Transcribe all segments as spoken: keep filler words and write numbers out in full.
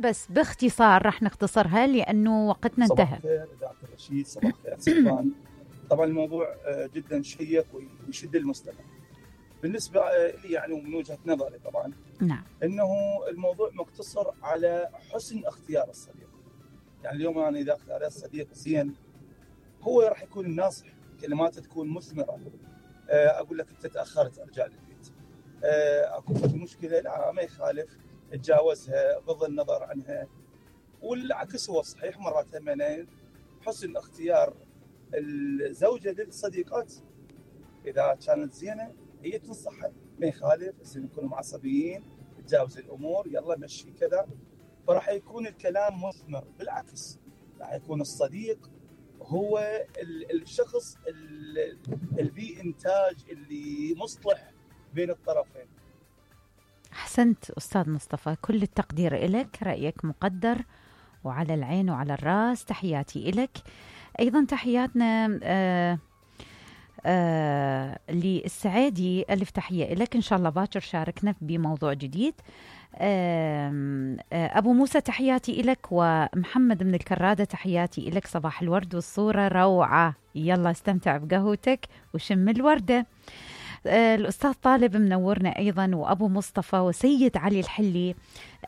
بس باختصار راح نختصرها لأنه وقتنا انتهى. صباح الخير إذاعة الرشيد، صباح الخير سلطان. طبعا الموضوع جدا شيق ويشد المستمع. بالنسبة لي يعني ومن وجهة نظري طبعا نعم إنه الموضوع مقتصر على حسن اختيار الصديق. يعني اليوم أنا إذا اختار صديق زين هو راح يكون الناصح، كلماته تكون مثمرة. أقول لك أنت تأخرت أرجع للبيت، أكو في مشكلة لا ما يخالف تجاوزها بغض النظر عنها. والعكس هو صحيح مرات همين حسن اختيار الزوجة للصديقات إذا كانت زينة هي تنصحها ما يخالف، بس يكونوا معصبيين تجاوز الأمور يلا مشي كذا، فراح يكون الكلام مثمر. بالعكس راح يكون الصديق هو الشخص اللي إنتاج اللي مصلح بين الطرفين. أحسنت أستاذ مصطفى، كل التقدير لك، رأيك مقدر وعلى العين وعلى الراس، تحياتي لك. أيضا تحياتنا آه آه للسعادي، ألف تحية لك، إن شاء الله باكر شاركنا بموضوع جديد. آه آه أبو موسى تحياتي لك، ومحمد من الكرادة تحياتي لك، صباح الورد والصورة روعة، يلا استمتع بقهوتك وشم الوردة. آه الأستاذ طالب منورنا أيضا، وأبو مصطفى وسيد علي الحلي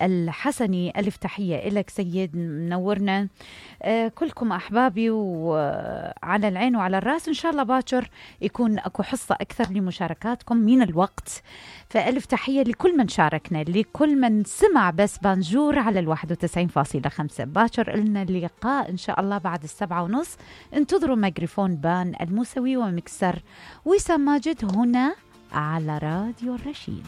الحسني، ألف تحية لك سيد منورنا. آه كلكم أحبابي وعلى العين وعلى الرأس، إن شاء الله باكر يكون أكو حصة أكثر لمشاركاتكم من الوقت، فألف تحية لكل من شاركنا، لكل من سمع بس بانجور على الواحد وتسعين فاصلة خمسة. باكر لنا اللقاء إن شاء الله بعد السبعة ونص. انتظروا ميكروفون بان الموسوي ومكسر وسام ماجد هنا على راديو الرشيد.